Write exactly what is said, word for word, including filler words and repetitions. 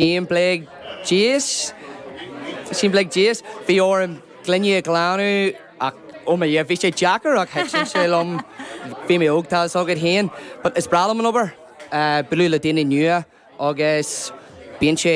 sé bliana déag sé bliana déag bhí orm gloiní a ghlanadh ach ó mo bhí sé deacair ach thaitin sé liom bhí mé óg tá agad féin, but is breá liom an obair bualadh le daoine nua agus bíonn sé